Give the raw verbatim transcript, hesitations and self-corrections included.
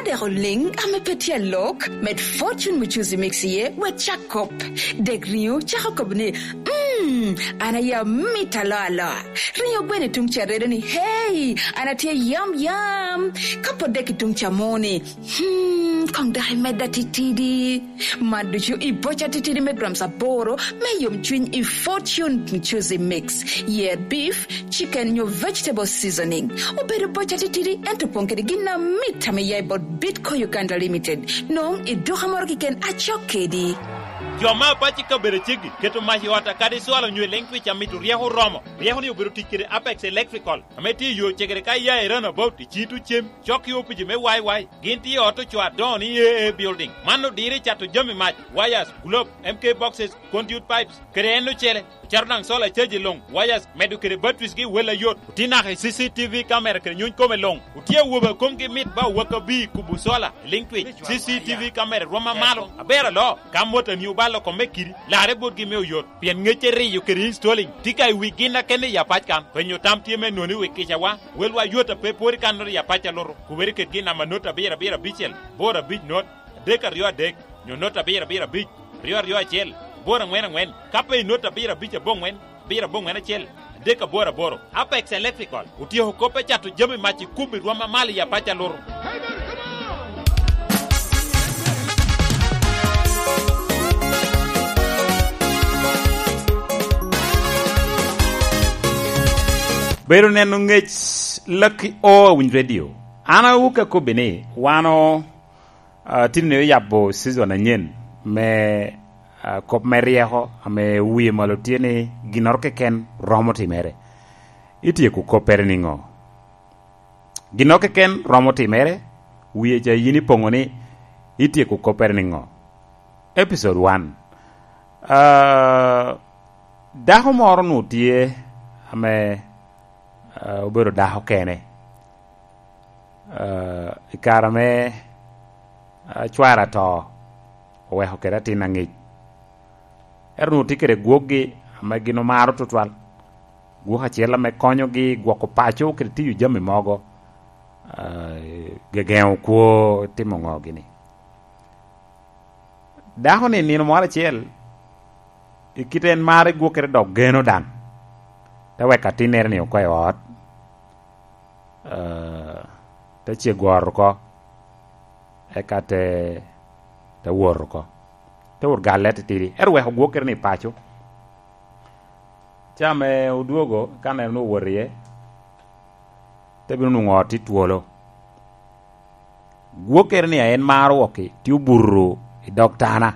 Kadeko ling ame pe tye lok, med Fortune Mchuzi Mix iye wek cak kop. Dek ringo cako kobo ni, Mmm, an aye mit alo aloa. Ringo gweno tung ca redo ni, hey, an atye yam yam. Ka pod dek i tung ca mo-ni, hmm, kong dok imedda titidi. Man ducu i boca titidi me grams aboro me yomcwiny i Fortune Mchuzi Mix. Yer beef, chicken nyo vegetable seasoning. Obedo boca titidi ento pong kede gin na mit ame ya i bot Bidco Uganda Limited. Nong i duka moro keken acok kedi. Jo ma apaci kabedo ceggi keto mac i ot akadi cwalo nyo i twich amito ryeko romo. Ryeko ni obedo tic kede Apex Electrical. Ame tye i yo cegere ka iya i roundabout i citu cem cok ki opiji me YY. Gin tye i ot oco adongo ni AA building. Man odire cato jami mac, wires, globe, MK boxes, conduit pipes, kede en ocele. Caro nang solar charge long, wires, medo kede batteries gi wel ayot. Oti naka i CCTV camera kede nyony kome long. Otie wobe kom gi mit ba waka bi kubu solar, link twitch, CCTV camera rwoma malo. Aber alo, kam mota ni obalo kome kidi, lare bot gi me oyot. Pien ngece riyo kede installing. Tika i wi gin akene ya pac kan. Penyo tam tye me noni wi kica wa. Wel wa yot ape pori kan nori ya pac aloro. Kuberi ket gi namba not abiro abiro abicel, boro abic not, adek aryo adek, nyo not abiro abiro abic, aryo aryo acel, aboro angwen angwen, ka pe i not abiro abic abongwen, abiro abongwen acel, adek aboro aboro. Apex Electrical, otieko kope cato jami mac i kubi rwom mamalo i apac aluru. Bedo neno ngec Lucky O awinj radio. An awuka kobi ni wano uh, tini ne yabo season anyen me uh, kop me ryeko ame wiye malo tye ni ginoro keken romo timere. Itieko kopere ningo. Gino keken romo timere wiye ca yin ipongo ni itieko kopere ningo. Episode one. Uh, dako moro nu tye ame uh, obedo dako kene. Uh, i kare me uh, cwara to oweko kede atin angec. Ero nu tye kede gwokgi ame gin omaro tutwal. Gwok acel ame konyogi gwoko paco kede tiyo jami mogo. Uh, gegengo kwo timo ngo gini. Dako ni nino moro acel i kite en mare gwokere dok geno dang. Te wek atinere ni oko i ot. Uh, te ce goro ko. Eka te te woro ko. Te wor galle titidi. Ero weko gwokere ni paco. Ca me odwogo ka neno ni owot iye. Te bino nongo ot tye twolo. Gwokere ni en maro woki tye obuto i dog tana.